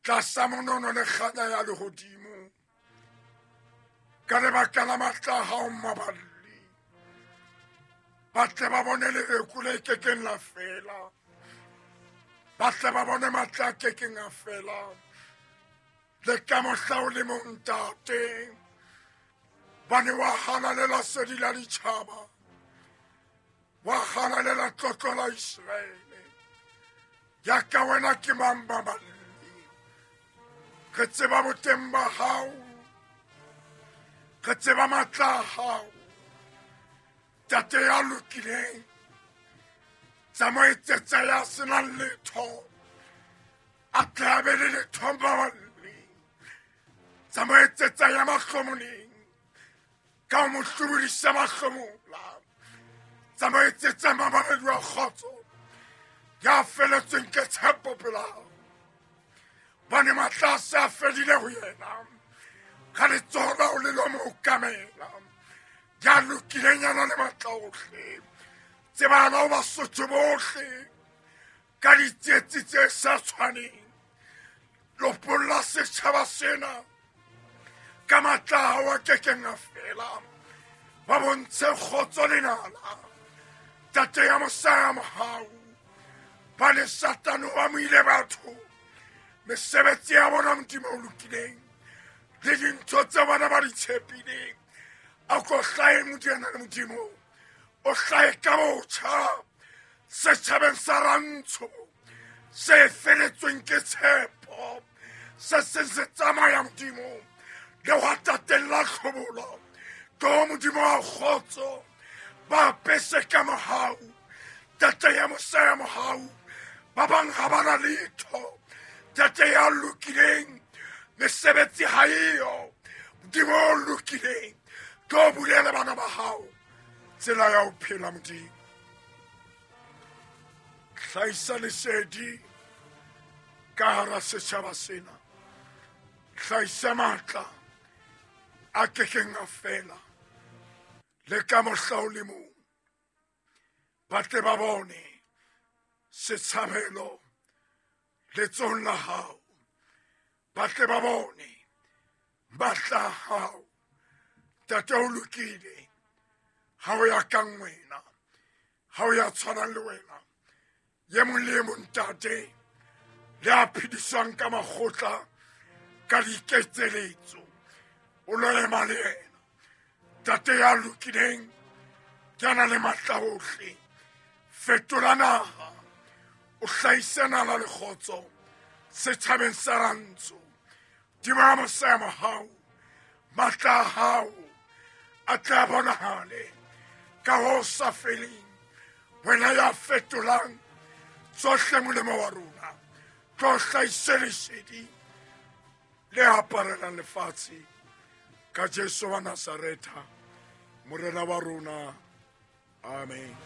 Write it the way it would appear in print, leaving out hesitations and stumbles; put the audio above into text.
Tlasa monono le kganya ya lehodimo. Ka lebaka la matla a hao maballi. Ba tle ba bone lereko le kekeng la fela. Ba tle ba bone matla a kekeng a fela. Le ka mohla o le mong ntate. Ba ne wa halalela sedi la ditjhaba. Wa halalela tlotlo la Iseraele. Ya ka wena ke mang baballi. Re tseba boteng ba hao. Re tseba matla a hao. Tate ya lokileng. Tsa mo etsetsa ya senang letho. A tle a be le letho baballi. Tsa mo etsetsa ya mahlomoleng. Ka ho mo hlobodisa mahlomola. Tsa mo etsetsa mabaledi wa kgotso. Ya feletsweng ke tshepo pela hao. Bane matla a se a fedile ho yena. Ka letsoho la ho le lo mo okamela. Ya lokileng ya na le matla ohle. Tsebana ho Basotho bohle. Ka ditsietsi tse sa tshwaneng. Lopolla setjhaba sena. Ka matla a hao a kekeng a fela. Ba bontshe kgotso le nala. Tate ya mosa ya mohau. Ba le Satane o amohile batho. Mesebetsi ya bona Modimo o lokileng. Le dintho tse bona ba di tshepileng. A ko hlahe Modimo le Modimo. O hlahe ka botjha. Setjhabeng sa Rantsho. Se feletsweng ke tshepo. Se seng se tsamaya Modimo. Le hwa tateng la tlhobolo. Tlo Modimo wa kgotso. Ba apese ka mohau. Tate ya mosa ya mohau. Ba bang ha ba na letho. Tate ya lokileng. Mesebetsi ha eyo. Modimo o lokileng. Tlo bulele bana ba hao. Tsela ya ho phela Modimo. Hlahisa lesedi ka hara setjhaba sena. Hlahisa matla a kekeng a fela. Le ka mohla o le mong. Ba tle ba bone setshabelo letsohong la hao. Ba tle ba bone matla a hao. Ntate o lokile. Ha o ya kang wena. Ha o ya tshwanang le wena. Ye mong le e mong ntate. Le a phediswang ka makgotla ka diketseletso. O lo ema le yena. Ntate ya lokileng. Ke a na le matla ohle. Fetola naha. O hlahise nala le kgotso. Setjhabeng sa Rantsho. Dimo ya mosa ya mohau. Matla a hao a tla bonahale ka ho sa feleng. Wena ya fetolang tsohle molemo wa rona. Tlo hlahise lesedi le aparelang lefatshe. Ka Jesu wa Nazaretha, Morena wa rona. Amen.